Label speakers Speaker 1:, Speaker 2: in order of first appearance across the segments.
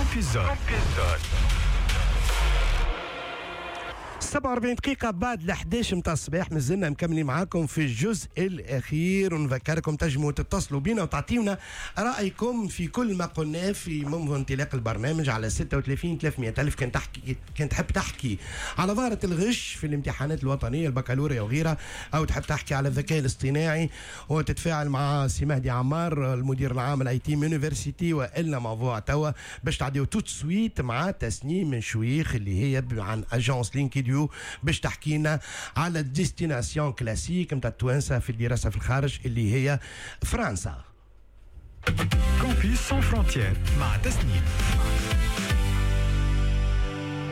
Speaker 1: Campus Zone.
Speaker 2: 47 دقيقة بعد ال 11 متاع الصباح، مازلنا مكملين معاكم في الجزء الأخير، ونذكركم تنجموا تتصلوا بنا وتعطيونا رأيكم في كل ما قلناه في منذ انطلاق البرنامج على 36 300 ألف. كان تحب تحكي على ظاهرة الغش في الامتحانات الوطنية، البكالوريا وغيرها، أو تحب تحكي على الذكاء الاصطناعي وتتفاعل مع سي مهدي عمار المدير العام ال ITM University، والا موضوع توا باش تعديو tout de suite مع تسنيم شويخ اللي هي عن agence LinkedU باش تحكي لنا على ال destination classique نتاع التوانسة في الدراسة في الخارج اللي هي فرنسا.
Speaker 1: Campus sans frontières مع تسنيم.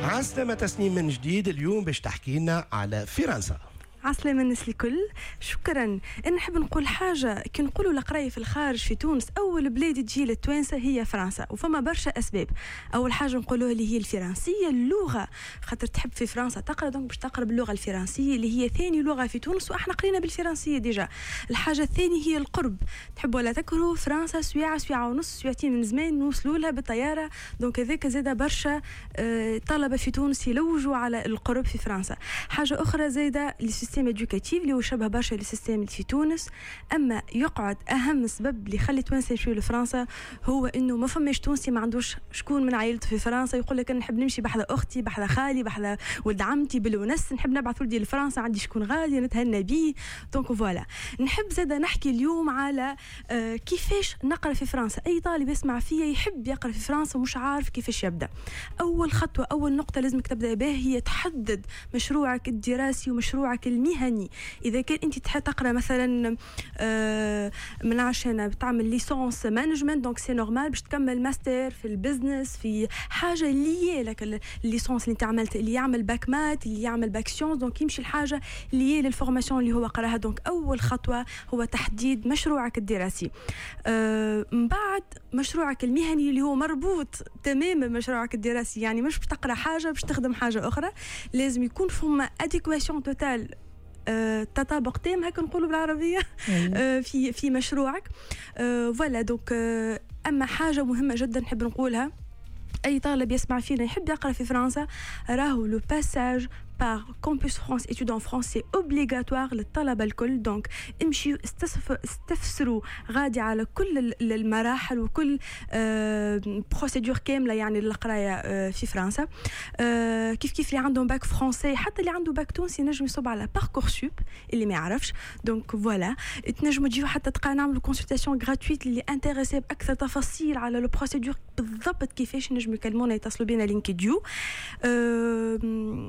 Speaker 2: عسلامة تسنيم من جديد، اليوم باش تحكي لنا على فرنسا.
Speaker 3: عسلامة الناس الكل، شكرا. أنا نحب نقول حاجة، كي نقولوا القراية في الخارج في تونس أول بلاد تجي للتوانسة هي فرنسا، وفما برشا أسباب. أول حاجة نقولوها اللي هي الفرنسية، اللغة، خاطر تحب في فرنسا تقرا donc باش تقرا باللغة الفرنسية اللي هي ثاني لغة في تونس، وإحنا قرينا بالفرنسية déjà. الحاجة الثانية هي القرب، تحب ولا تكرهوا فرنسا سويعة، سويعة ونص، سويعتين من زمان نوصلوا لها بالطيارة، donc هذاك زاد برشا طلبة في تونس يلوجوا على القرب في فرنسا. حاجة أخرى زايدة ال système éducatif اللي هو شبه برشا لل système اللي في تونس. اما يقعد اهم سبب اللي يخلي التوانسة يمشيو لفرنسا هو انه ما فماش تونسي ما عندوش شكون من عائلته في فرنسا، يقول لك انا نحب نمشي بحذا اختي، بحذا خالي، بحذا ولد عمتي بالونس، نحب نبعث ولدي لفرنسا، عندي شكون غالي نتهنى بيه. donc voilà، نحب زاده نحكي اليوم على كيفاش نقرا في فرنسا. اي طالب يسمع فيا يحب يقرا في فرنسا ومش عارف كيفاش يبدا. اول خطوه، اول نقطة لازمك تبدا بها هي تحدد مشروعك الدراسي ومشروعك المهني. اذا كان انت تحب تقرا مثلا من عشان بتعمل licence management، donc c'est normal باش تكمل ماستر في ال business، في حاجة liée لك ال licence اللي انت عملت. اللي يعمل bac maths، اللي يعمل bac sciences، donc يمشي الحاجة liée لل formation اللي هو قراها. donc اول خطوة هو تحديد مشروعك الدراسي. من بعد مشروعك المهني اللي هو مربوط تماما بمشروعك الدراسي، يعني مش باش تقرا حاجة باش تخدم حاجة اخرى، لازم يكون فما adéquation totale، تطابق تام هكا نقولوا بالعربيه، في مشروعك. voilà donc اما حاجة مهمة جدا نحب نقولها، اي طالب يسمع فينا يحب يقرا في فرنسا، راهو le passage par Campus France Études en France c'est obligatoire للطلبة الكل. donc امشيوا استفسروا غادي على كل المراحل وكل procédure كاملة يعني للقرايه في فرنسا. كيف كيف اللي عندهم bac français، حتى اللي عنده باك تونسي ينجم يصب على Parcoursup اللي ما يعرفش. donc voilà، تنجموا تجيو حتى تلقى نعملوا consultation gratuite اللي intéressé باكثر تفاصيل على la procédure بالضبط كيفاش، نجموا يكلمونا، يتصلوا بينا LinkedU.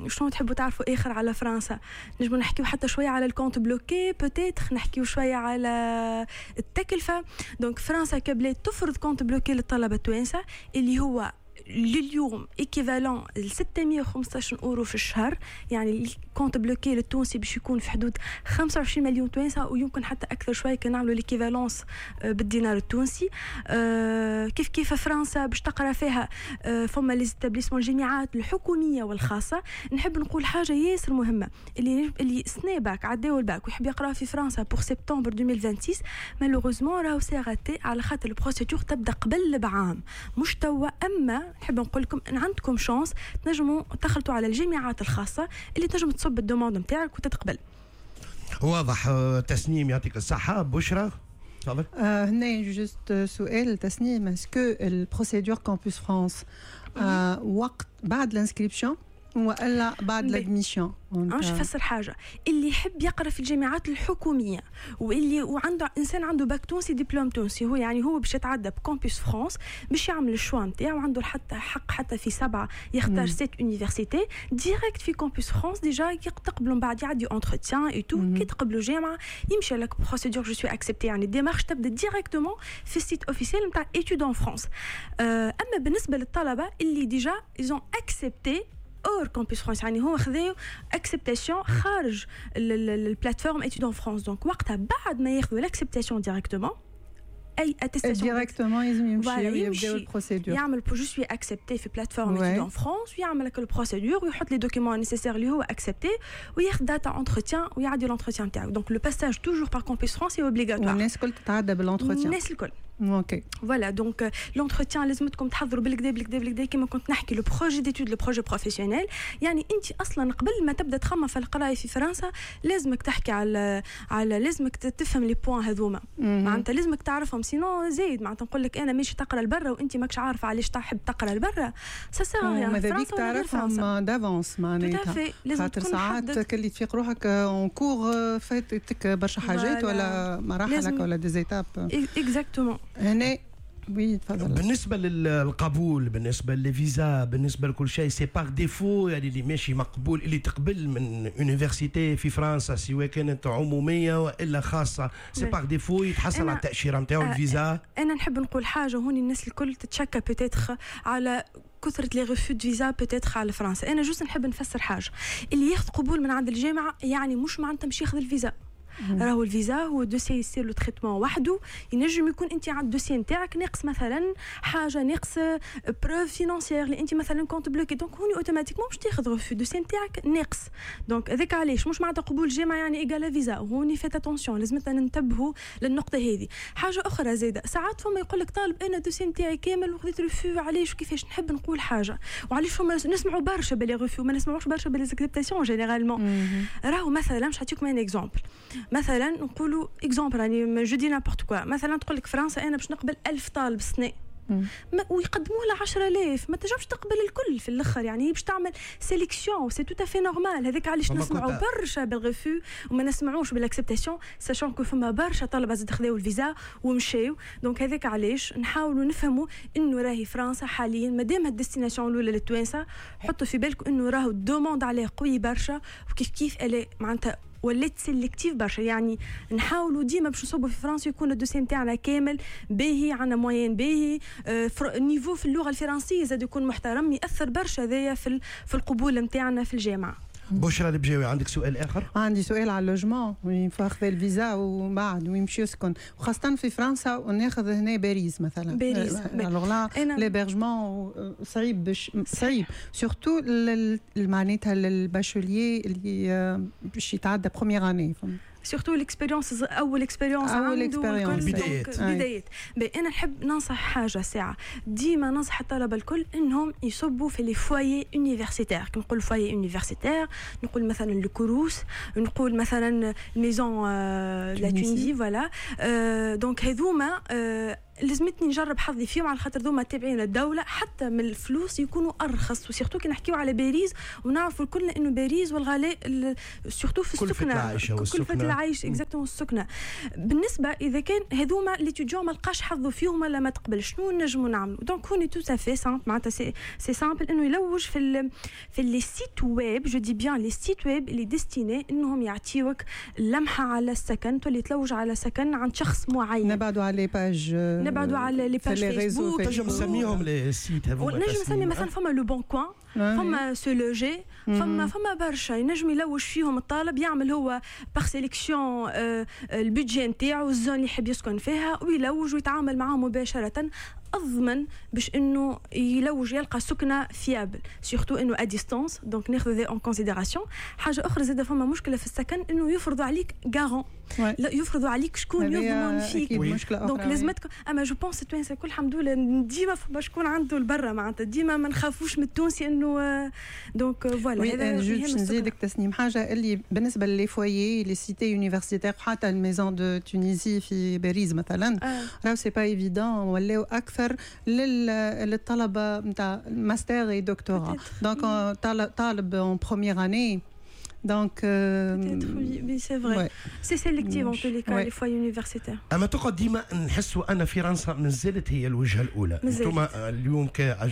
Speaker 3: شنو تحبوا تعرفوا اخر على فرنسا؟ نجموا نحكيو حتى شوية على ال compte bloqué، peut-être نحكيو شوية على التكلفه. donc فرنسا كبلاد تفرض compte bloqué للطلبة التوانسة اللي هو لليوم équivalent ل 615 اورو في الشهر، يعني ال compte bloqué للتونسي باش يكون في حدود 25 مليون توانسه، ويمكن حتى اكثر شوية كي نعملوا l'équivalence بالدينار التونسي. كيف كيف فرنسا باش تقرا فيها فما les établissements، الجامعات الحكومية والخاصه. نحب نقول حاجة ياسر مهمه، اللي سنة باك عداو الباك ويحب يقرا في فرنسا pour سبتمبر 2026، malheureusement راهو c'est raté، على خاطر ال procédure تبدا قبل بعام مش توا. اما نحب نقول لكم ان عندكم chance، تنجموا تخلطوا على الجامعات الخاصة اللي تنجم تصب ال demande نتاعك وتتقبل.
Speaker 2: واضح تسنيم، يعطيك الصحه. بشرى، تفضل.
Speaker 4: هنا juste سؤال تسنيم، est-ce que ال procédure Campus France وقت بعد l'inscription والا بعد l'admission؟
Speaker 3: باش نفسر حاجه، اللي يحب يقرا في الجامعات الحكومية واللي وعنده انسان عنده باك تونسي، دبلوم تونسي، هو يعني هو باش يتعدى ب Campus France باش يعمل ال choix نتاعو، عنده حتى حق حتى في سبعة يختار sept universités direct في Campus France. déjà تقبلوا من بعد يعدي entretien et tout، كي تقبلوا جامعه يمشي لك procédure je suis accepté، يعني démarche تبدا directement في ال site officiel نتاع Études en France. اما بالنسبة للطلبة اللي déjà ils ont accepté hors Campus France، يعني هو خذاو acceptation خارج ال plateforme Études en France، donc وقتها بعد ما ياخذوا l'acceptation directement اي
Speaker 4: attestation directement لازم يمشي ويبداو ال procédure.
Speaker 3: يعمل je suis accepté في plateforme Études en France ويعمل لك ال procédure ويحط les documents nécessaires اللي هو accepté وياخذ date entretien ويعدي l'entretien تاعو. donc le passage toujours par Campus France est obligatoire.
Speaker 4: والناس الكل تتعدى بال entretien؟
Speaker 3: الناس الكل.
Speaker 4: OK.
Speaker 3: voilà، donc l'entretien لازمتكم تحضروا بالكدا بالكدا بالكدا، كيما كنت نحكي le projet d'études، le projet professionnel. يعني انت اصلا قبل ما تبدا تخمم في القراية في فرنسا لازمك تحكي على لازمك تفهم les points هذوما، معناتها لازمك تعرفهم، sinon زايد معناتها نقول لك انا ماشي تقرا لبرا وانت ماكش عارفه علاش تحب تقرا لبرا، ça sert à rien.
Speaker 4: ماذا بيك تعرفهم d'avance معناتها.
Speaker 3: لازم.
Speaker 4: خاطر ساعات كلي تفيق روحك en cours فاتتك برشا حاجات ولا مراحلك ولا des étapes.
Speaker 3: exactement.
Speaker 4: هنا oui، تفضل.
Speaker 2: بالنسبة للقبول، بالنسبة للفيزا، بالنسبة لكل شيء، c'est par défaut يعني اللي ماشي مقبول، اللي تقبل من université في فرنسا سواء كانت عموميه والا خاصه، c'est par défaut يتحصل على التاشيره نتاعو، الفيزا؟
Speaker 3: انا نحب نقول حاجة هوني، الناس الكل تتشكى peut-être على كثرة les refus de visa peut-être على فرنسا. انا juste نحب نفسر حاجه، اللي ياخذ قبول من عند الجامعة يعني مش معناتها مش ياخذ الفيزا. راهو الفيزا هو dossier يصير له traitement وحده. ينجم يكون انت عند ال dossier نتاعك ناقص مثلا حاجه، ناقص preuve financière اللي انت مثلا compte bloqué، donc هوني automatiquement باش تاخذ refus، ال dossier نتاعك ناقص. donc هذاك علاش مش معناتها قبول جامعه يعني égal visa. هوني faites attention، لازم ننتبهوا للنقطة هذه. حاجة اخرى زاده، ساعات فما يقول لك طالب انا ال dossier نتاعي كامل وخذيت refus، علاش وكيفاش؟ نحب نقول حاجه، وعلاش فما نسمعوا برشا ب les refus وما نسمعوش برشا ب les acceptations généralement؟ راهو مثلا باش نعطيكم un exemple، مثلا نقولوا exemple، راني je dis n'importe quoi، مثلا تقول لك فرنسا انا باش نقبل 1000 طالب سنة ويقدموا لها 10,000، ما تنجمش تقبل الكل في الاخر، يعني باش تعمل sélection، c'est tout à fait normal. هذاك علاش نسمعوا برشا بال refus وما نسمعوش بال acceptation، sachant que فما برشا طلبه زاد خذاو الفيزا ومشاو. donc هذاك علاش نحاولوا نفهموا انه راهي فرنسا حاليا مادام ال destination الاولى للتوانسه، حطوا في بالكم انه راهو ال demande عليه قوي برشا، وكيف كيف معناتها ولات sélective برشا. يعني نحاولوا ديما باش نصبوا في فرنسا يكون ال dossier نتاعنا كامل باهي، عندنا moyenne باهي، niveau في اللغة الفرنسية زاد يكون محترم، ياثر برشا هذايا في القبول نتاعنا في الجامعه.
Speaker 2: بشرى البجاوي، عندك سؤال اخر؟
Speaker 4: عندي سؤال على ال logement، وين فاخذ الفيزا ومن بعد ويمشي يسكن، وخاصة في فرنسا وناخذ هنا باريس مثلا.
Speaker 3: باريس.
Speaker 4: alors là l'hébergement صعيب، باش صعيب surtout معناتها لل bachelier اللي باش يتعدى première année.
Speaker 3: surtout l'expérience، اول expérience.
Speaker 4: اول expérience.
Speaker 2: البدايات.
Speaker 3: بدايات. انا نحب ننصح حاجة ساعه، ديما ننصح الطلبة الكل انهم يصبوا في les foyers universitaires. كي نقول foyer universitaire نقول مثلا ال Crous، نقول مثلا maison la Tunisie، voilà. donc هذوما لازمتني نجرب حظي فيهم على خاطر ذوما تابعين للدوله، حتى من الفلوس يكونوا ارخص، و surtout كي نحكيو على باريس ونعرفوا الكل انه باريس والغلاء surtout في
Speaker 2: السكنه. العيش.
Speaker 3: كلفة العيش exactement، السكنه. بالنسبة اذا كان هذوما l'étudiant ما لقاش حظه فيهم ولا ما تقبل، شنو نجموا نعملوا؟ donc هوني tout à fait simple، معناتها c'est simple انه يلوج في les sites web، je dis bien les sites web اللي destinés انهم يعطيوك لمحه على السكن، تولي تلوج على سكن عند شخص معين.
Speaker 4: نبعدوا على les pages.
Speaker 3: نبعدوا على les pages فيسبوك.
Speaker 2: تنجم نسميهم les sites
Speaker 3: هذوما؟ نجم نسمي مثلا فما Le Bon Coin، فما SeLoger، فما برشا ينجم يلوج فيهم الطالب، يعمل هو par sélection ال budget نتاعو، ال zone اللي يحب يسكن فيها، ويلوج ويتعامل معاهم مباشره، اضمن باش انه يلوج يلقى سكنه fiable، surtout انه à distance، donc ناخذ en considération. حاجة اخرى زاد، فما مشكلة في السكن انه يفرضوا عليك garant، لا يفرضوا عليك شكون يضمن فيك.
Speaker 4: مشكلة.
Speaker 3: donc لازمتك، اما je pense التوانسة الكل الحمد لله ديما فما شكون عنده البرة، معناتها ديما ما نخافوش من التونسي انه donc voilà.
Speaker 4: هذا باش نزيدك تسنيم حاجه، اللي بالنسبة les foyers، les cités universitaires، حتى ال maison de Tunisie في باريس مثلا، راهو c'est pas évident، ولاو اكثر للطلبة نتاع master et doctorat، donc طالب en première année donc
Speaker 3: Peut-être oui, mais c'est vrai. Ouais. C'est sélectif en tous les cas, les foyers universitaires.
Speaker 2: اما تقعد ديما نحسوا ان فرنسا مازالت هي الوجهة الاولى. انتم اليوم